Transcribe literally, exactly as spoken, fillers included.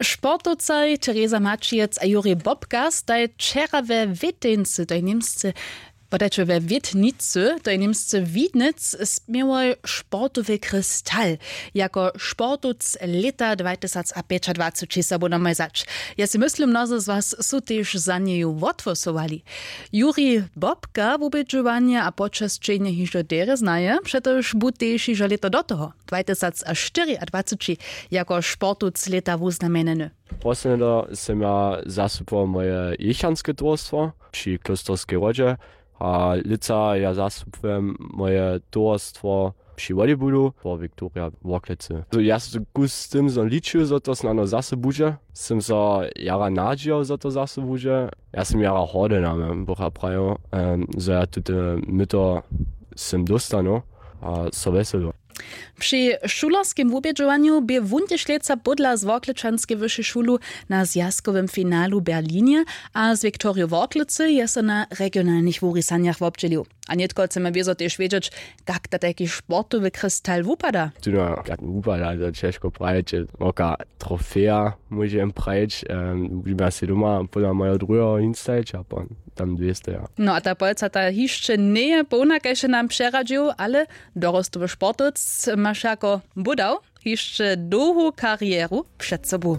Sportowcaj tereza maćijec a juri bobka staj wčera we wěteńcy to je němsce podajće we wětnicy to je němsce widnec směłoj sportowy kristal jako sportowc lěta dwatysacpjećadwaceći sobu namaj zać. Ja sej myslim mnozy z was su tež za njeju wothłosowali. Juri bobka wubědźowanje a počesćenje hižo derje znaje přetož bu tež hižo lěto do toho dwatysacštyriadwaceći jako sportowc lěta wuznamjenjeny. Poslednje do sym ja zastupował moje jěchanske towarstwo při klósterskej wodźe a lětsa ja zastupujem moje towarstwo při wodybulu po viktoria worklecy. Ja so kus z tym zo ličił zo to snano zaso budźe. Sym so jara nadźijał zo to zaso budźe. Ja sym jara hody na mem bucha prajił, zo ja tute myto sym dóstanu a so wjeselu. Při šulerskim wubědźowanju bě wón tež lětsa pódla z worklečanskej wyšej šulu na zwjazkowym finalu w berlinje a z viktoriju worklecy je so na regionalnych wurisanjach wobdźělił. A nětko chcemy wězo tež wědźeć, kak to tajki sportowy kristal wupada? Tuno jak wupada to ćežko prajić, woka trofeja móže jem prajić. Wubědźima sej doma pódla mojeho druheho hinstajić a pon tam dwěsteja. No a ta polca ta hišće njeje połna kaž je nam přeradźił ale dorostowy sportowc maš jako budał hišće dołhu karjeru před sobu.